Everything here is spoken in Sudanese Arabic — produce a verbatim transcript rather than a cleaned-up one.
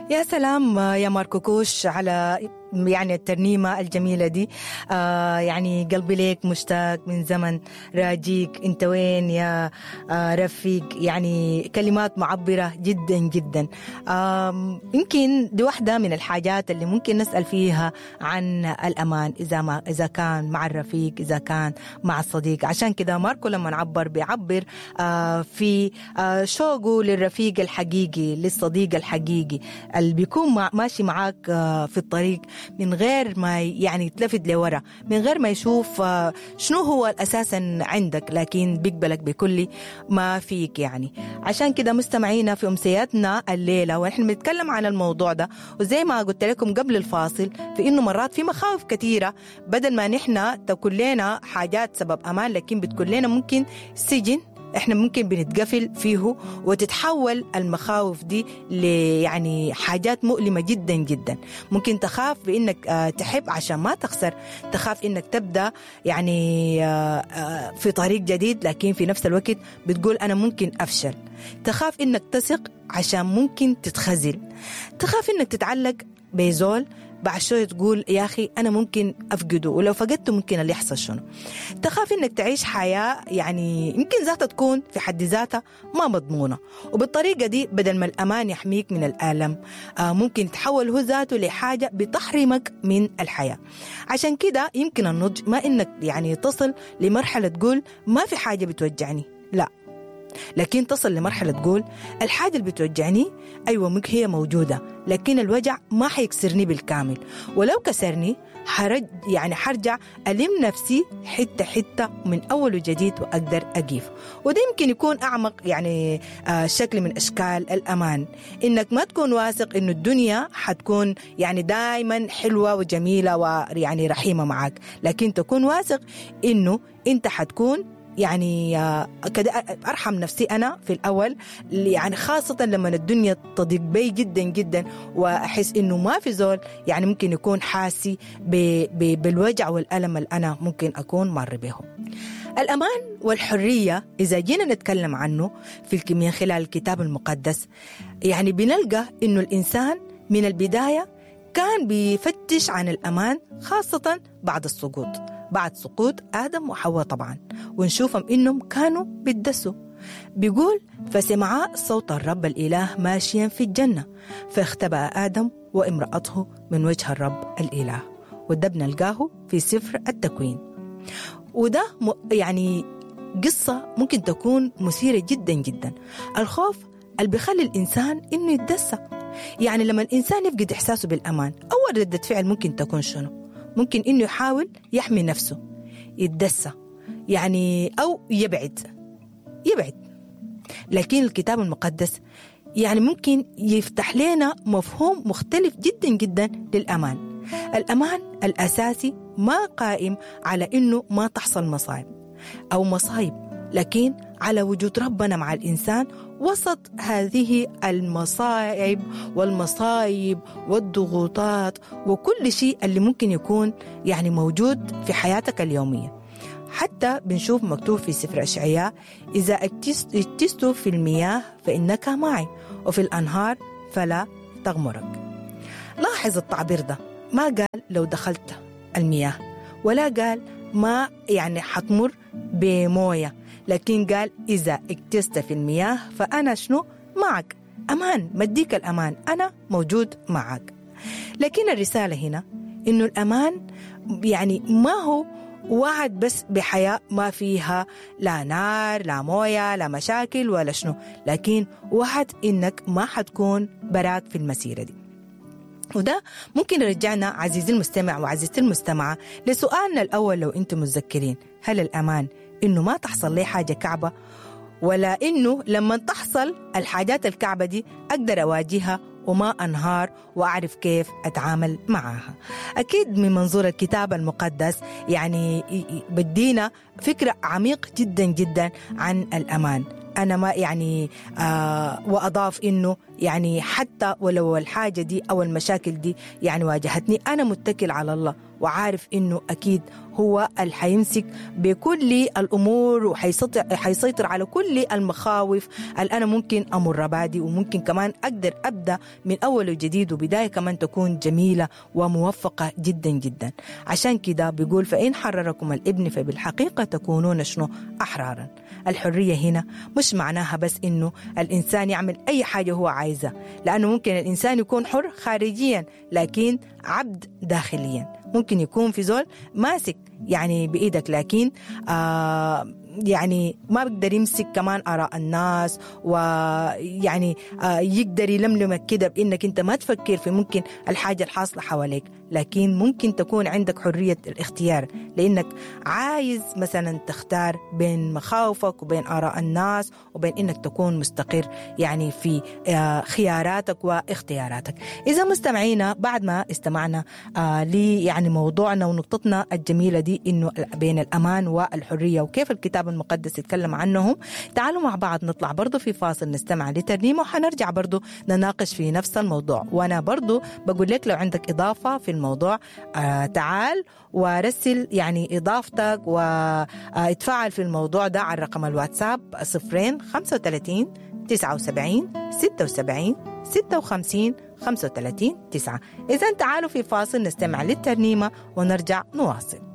يا سلام يا ماركو كوش على يعني الترنيمة الجميلة دي. آه يعني قلبي ليك مشتاق من زمن راجيك، انت وين يا آه رفيق. يعني كلمات معبرة جدا جدا. آه يمكن دي واحدة من الحاجات اللي ممكن نسأل فيها عن الأمان، إذا ما إذا كان مع الرفيق، إذا كان مع الصديق. عشان كده ماركو لما نعبر بيعبر آه في آه شوقه للرفيق الحقيقي، للصديق الحقيقي اللي بيكون مع ماشي معاك آه في الطريق من غير ما يعني يتلفت لورا، من غير ما يشوف شنو هو أساسا عندك، لكن بيقبلك بكل ما فيك. يعني عشان كده مستمعينا في أمسياتنا الليلة ونحن بنتكلم عن الموضوع ده، وزي ما قلت لكم قبل الفاصل في إنه مرات في مخاوف كثيرة بدل ما نحن تكون لنا حاجات سبب أمان، لكن بتكون لنا ممكن سجن احنا ممكن بنتقفل فيه، وتتحول المخاوف دي يعني حاجات مؤلمة جدا جدا. ممكن تخاف بانك تحب عشان ما تخسر، تخاف انك تبدأ يعني في طريق جديد لكن في نفس الوقت بتقول انا ممكن افشل، تخاف انك تثق عشان ممكن تتخزل، تخاف انك تتعلق بزول بعد شوية تقول يا أخي أنا ممكن أفقده، ولو فقدته ممكن اللي يحصل شنو. تخاف إنك تعيش حياة يعني يمكن ذاتها تكون في حد ذاتها ما مضمونة، وبالطريقة دي بدل ما الأمان يحميك من الألم آه ممكن تحول هو ذاته لحاجة بتحرمك من الحياة. عشان كده يمكن النضج ما إنك يعني تصل لمرحلة تقول ما في حاجة بتوجعني، لا، لكن تصل لمرحلة تقول الحاجة اللي بتوجعني أيوة ممكن هي موجودة، لكن الوجع ما حيكسرني بالكامل، ولو كسرني حرج يعني حرجع ألم نفسي حتة حتة من أول وجديد وأقدر أقيف. وده يمكن يكون أعمق يعني آه شكل من أشكال الأمان، إنك ما تكون واثق إنه الدنيا حتكون يعني دايما حلوة وجميلة ويعني رحيمة معك، لكن تكون واثق إنه أنت حتكون يعني كده أرحم نفسي أنا في الأول، يعني خاصة لما الدنيا تضيق بي جدا جدا وأحس إنه ما في زول يعني ممكن يكون حاسي بالوجع والألم اللي أنا ممكن أكون مر به. الأمان والحرية إذا جينا نتكلم عنه في من خلال الكتاب المقدس، يعني بنلقى إنه الإنسان من البداية كان بيفتش عن الأمان، خاصة بعد السقوط، بعد سقوط آدم وحواء طبعا، ونشوفهم إنهم كانوا بيتدسوا. بيقول فسمعا صوت الرب الإله ماشيا في الجنة فاختبأ آدم وامرأته من وجه الرب الإله، وده بنلقاه في سفر التكوين. وده يعني قصة ممكن تكون مثيرة جدا جدا. الخوف اللي بيخلي الإنسان إنه يتدسى، يعني لما الإنسان يفقد إحساسه بالأمان أول ردة فعل ممكن تكون شنو؟ ممكن إنه يحاول يحمي نفسه، يتدسى يعني أو يبعد يبعد. لكن الكتاب المقدس يعني ممكن يفتح لنا مفهوم مختلف جدا جدا للأمان. الأمان الأساسي ما قائم على إنه ما تحصل مصايب أو مصايب، لكن على وجود ربنا مع الإنسان وسط هذه المصاعب والمصايب والضغوطات وكل شيء اللي ممكن يكون يعني موجود في حياتك اليومية. حتى بنشوف مكتوب في سفر أشعياء إذا اجتزت في المياه فإنك معي وفي الأنهار فلا تغمرك. لاحظ التعبير ده، ما قال لو دخلت المياه، ولا قال ما يعني حتمر بمويه، لكن قال إذا اجتزت في المياه فأنا شنو معك، أمان، مديك الأمان، أنا موجود معك. لكن الرسالة هنا إنه الأمان يعني ما هو وعد بس بحياة ما فيها لا نار لا موية لا مشاكل ولا شنو، لكن وعد إنك ما حتكون براك في المسيرة دي. وده ممكن يرجعنا عزيزي المستمع وعزيزتي المستمعة لسؤالنا الأول لو أنتم متذكرين، هل الأمان إنه ما تحصل لي حاجة كعبة، ولا إنه لما تحصل الحاجات الكعبة دي أقدر أواجهها وما أنهار وأعرف كيف أتعامل معها؟ أكيد من منظور الكتاب المقدس يعني بدينا فكرة عميق جدا جدا عن الأمان. أنا ما يعني آه وأضاف إنه يعني حتى ولو الحاجة دي أو المشاكل دي يعني واجهتني، أنا متكل على الله وعارف إنه أكيد هو اللي حيمسك بكل الأمور وحيسيطر حيسيطر على كل المخاوف اللي أنا ممكن أمر بادي، وممكن كمان أقدر أبدأ من أول وجديد وبداية كمان تكون جميلة وموفقة جدا جدا. عشان كده بيقول فإن حرركم الابن فبالحقيقة تكونون شنو؟ أحرارا. الحرية هنا مش معناها بس إنه الإنسان يعمل أي حاجة هو عايزها، لأنه ممكن الإنسان يكون حر خارجيا لكن عبد داخليا. ممكن يكون في زول ماسك يعني بإيدك لكن آه يعني ما بيقدر يمسك كمان آراء الناس، ويعني آه يقدر يلملمك كده بإنك أنت ما تفكر في ممكن الحاجة الحاصلة حواليك، لكن ممكن تكون عندك حرية الاختيار لأنك عايز مثلا تختار بين مخاوفك وبين آراء الناس وبين إنك تكون مستقر يعني في آه خياراتك واختياراتك. إذا مستمعينا بعد ما استمعنا آه لي يعني موضوعنا ونقطتنا الجميلة دي إنه بين الأمان والحرية وكيف الكتاب المقدس يتكلم عنهم، تعالوا مع بعض نطلع برضو في فاصل نستمع لترنيمة وحنرجع برضو نناقش في نفس الموضوع. وأنا برضو بقول لك لو عندك إضافة في الموضوع آه تعال ورسل يعني إضافتك واتفاعل في الموضوع ده على رقم الواتساب صفرين خمسة وثلاثين تسعة وسبعين ستة وسبعين ستة وخمسين خمسة وثلاثين تسعة. إذن تعالوا في فاصل نستمع للترنيمة ونرجع نواصل.